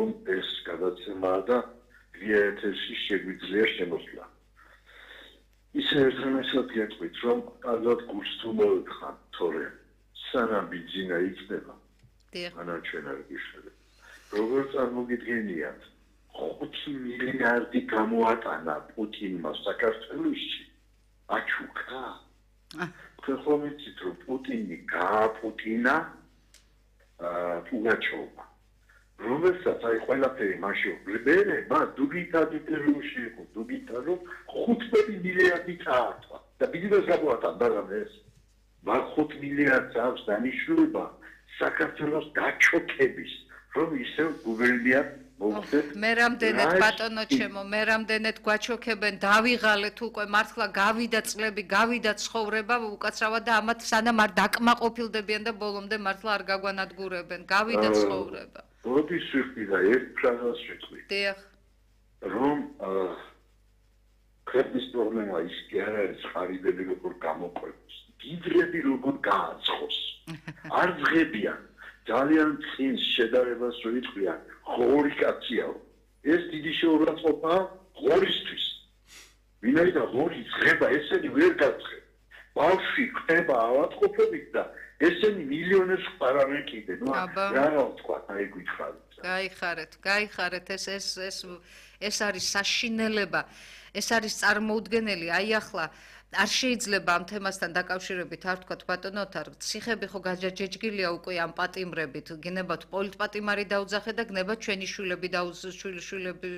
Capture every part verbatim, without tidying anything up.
რომ ეს გადაცემა და ვიეთესში შეგვიძლია შემოსვლა. ისე ერთმანეთს გეტყვით, რომ ალბათ გულს თუ მოიხან, თორე სანამ ბიძინა იქნება, მანამ ჩვენ არ გიშლება. როგორ წარმოგიდგენიათ, ხუთი მილიარდი გამოატანა პუტინმა საქართველოში, აჩუქა. ხომ იცით, რომ პუტინი გააპუტინა პუგაჩოვმა. რომელსაც აი ყველაფერი მაშინ ბრბერება დუბიტადიტელუში იყო, დუბიტა რომ ხუთმეტი მილიარდი წაართვა და ბიზნეს გამოატან მაგრამ ეს მაგ ხუთ მილიარდს აქვს დანიშნულება საქართველოს გაჩოქების, რომ ისევ გუბერნია მოგდეთ. მე რამდენად ბატონო ჩემო, მე რამდენად გვაჩოქებენ, დავიღალეთ უკვე მართლა გავიდა წლები, გავიდა ცხოვრება უკაცრავად და ამათ სანამ არ დაკმაყოფილდებიან და ბოლომდე მართლა არ გაგვანადგურებენ, გავიდა ცხოვრება. როდის ვიხდი და ერთ ფრაზას ვიტყვი. დიახ. რომ ქვეყნის პრობლემა ის კი არ არის ხარიბები როგორ გამოყვებას, გიდრები როგორ გააცხოს. არ ძღებიან. ძალიან წინს შედარებას ვიტყვიან, ღორი კაციაო. ეს დიდი შეურაცხყოფაა ღორისთვის. ვინაიდან ღორი ძღება, ესენი ვერ გაძღება. ბავშვი ხდება ავადმყოფობით და ესენი მილიონებს ყარავენ კიდე. ნუ რა რა ვთქვა, აი გითხარით. გაიხარეთ, გაიხარეთ, ეს ეს ეს ეს არის საშინელება. ეს არის წარმოუდგენელი, აი ახლა არ შეიძლება ამ თემასთან დაკავშირებით არ ვთქვათ ბატონოთარ, ციხები ხო გაჯაჯეჯგილია უკვე ამ პატიმრებით, გნებათ პოლიტპატიმარი დაუძახე და გნებათ ჩვენი შვილები შვილები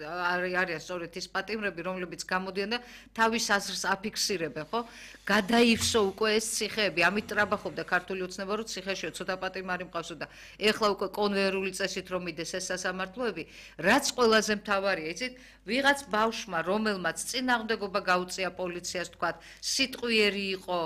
არიან სწორედ ის პატიმრები, რომლებიც გამოდიან და თავის აზრს აფიქსირებენ, ხო? გადაივსო უკვე ეს ციხეები, ამით ტრაბახობდა ქართული ოცნება, რომ ციხეშიო ცოტა პატიმარი მყავსო და ეხლა უკვე კონვერული წესით რომ მიდეს ეს სასამართლოები, რაც ყველაზე მთავარია, იცით, ვიღაც ბავშვმა, რომელმაც წინააღმდეგობა გაუწია პოლიციას თქვათ, სიტყვიერი იყო,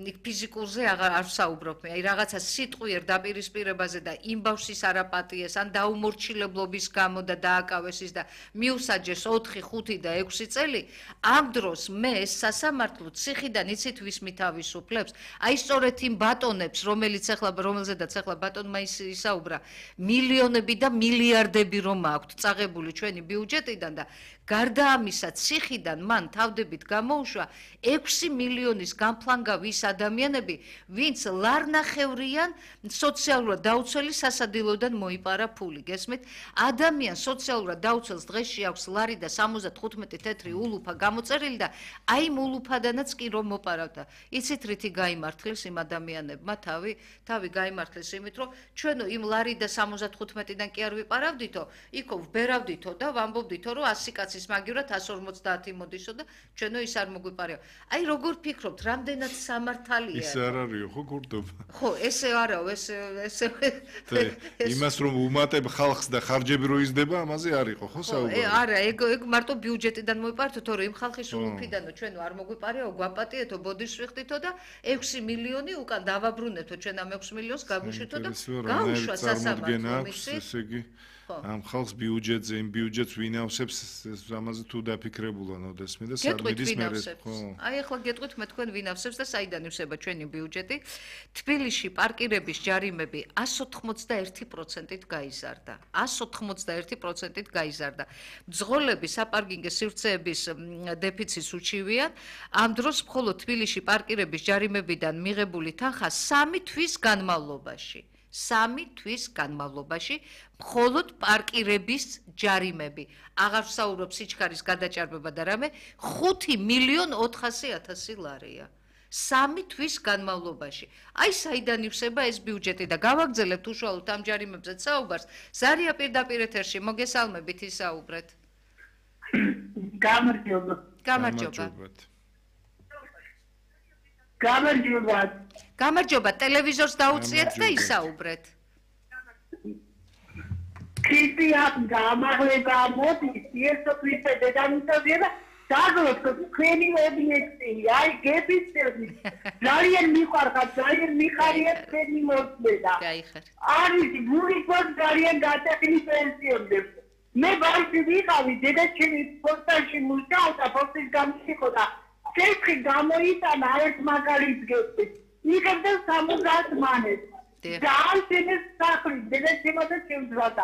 ფიზიკურზე აღარ არ ვსაუბრობ მე, აი რაღაცა სიტყვიერ დაპირისპირებაზე და იმ ბავშვის არაპატიეს, ან დაუმორჩილებლობის გამო და დააკავეს ის და მიუსაჯეს ოთხი, ხუთი და ექვსი წელი, ამ დროს მე ეს სასამართლო ციხიდან იცით ვის მითავისუფლებს? აი სწორედ იმ ბატონებს, რომელიც ახლა რომელზედაც ახლა ბატონმა ისაუბრა, მილიონები და მილიარდები რომ აქვთ წაღებული ჩვენი ბიუჯეტიდან და გარდა ამისა ციხიდან მან თავდებით გამოუშვა ექვსი მილიონის გამფლანგავი ის ადამიანები, ვინც ლარნახევრიან სოციალურად დაუცველი სასადილოდან მოიპარა ფული. გესმით? ადამიანს სოციალურად დაუცველს დღეში აქვს ლარი და სამოცდათხუთმეტი თეთრი ულუფა გამოწერილი და აი იმ ულუფადანაც კი რომ მოპარავდა. იცით რითი გაიმართლეს იმ ადამიანებმა თავი, თავი გაიმართლეს იმით, რომ ჩვენო იმ ლარი და სამოცდათხუთმეტიდან კი არ ვიპარავდითო, იქო ვბერავდითო და ვამბობდითო, რომ ასი კაცის მაგივრად ასი ორმოცდაათი მოდისო და ჩვენო ის არ მოგვიპარეო. აი როგორ ფიქრობთ, რამდენად სამართალია? ის არ არისო ხო გურდობა. ხო, ესე არაო, ესე ესე იმას რომ უმატებ ხალხს და ხარჯები რო იზრდება, ამაზე არ იყო ხო საუბარი? არა, ეგ ეგ მარტო ბიუჯეტიდან მოიპარეთო, თორე იმ ხალხის ულუფიდანო ჩვენო არ მოგვიპარეო, გვაპატიეთო, ბოდიშს ვიხდითო და ექვსი მილიონი უკან დავაბრუნეთო ჩვენ ამ ექვსი მილიონს გავუშვითო და გაუშვა სასამართლო ესე იგი ამ ხალხს ბიუჯეტზე იმ ბიუჯეტს ვინ ავსებს ამაზე თუ დაფიქრებულან ოდესმე და სარბიდის მერე ხო აი ახლა გეტყვით მე თქვენ ვინ ავსებს და საიდან ივსება ჩვენი ბიუჯეტი თბილისში პარკირების ჯარიმები εκατს ოთხმოცდაერთი პროცენტით გაიზარდა εκατს ოთხმოცდაერთი პროცენტით გაიზარდა მძღოლები საპარკინგო სივრცეების დეფიციტს უჩივიან ამ დროს მხოლოდ თბილისში პარკირების ჯარიმებიდან მიღებული თანხა სამი თვის განმავლობაში სამი თვის განმავლობაში მხოლოდ პარკირების ჯარიმები. აღარ ვსაუბრობ სიჩქარის გადაჭარბება და რამე ხუთი მილიონი ოთხასი ათასი ლარია. სამი თვის განმავლობაში. აი საიდან ივსება ეს ბიუჯეტი და გავაგრძელებთ უშუალოდ ამ ჯარიმებზეც საუბარს. ზარია პირდაპირ ეთერში მოგესალმებით ისაუბრეთ. გამარჯობა. გამარჯობა. გამარჯობა. გამარჯობა, ტელევიზორს დაუწიეთ და ისაუბრეთ. ქრისტიან გამარჯობა, მოდის, იესო ქრისტე დედამიწაზე დაგლოთ თქვენი ობიექტი, აი გეფიცები. ძალიან მიყვარხარ, ძალიან მიხარია თქვენი მოსმენა. გაიხარ. არის გული გოს ძალიან გატეხილი პენსიონები. მე ბავშვი ვიყავი, დედა ჩემი პოსტაში მუშაობდა, პოსტის გამიხო და ცეცხლი გამოიტანა ერთ მაგალითს გეტყვით. იღებდა სამოცდაათ მანეთს. და ამ სინეს სახლი, დედა შემოდა შემძვადა.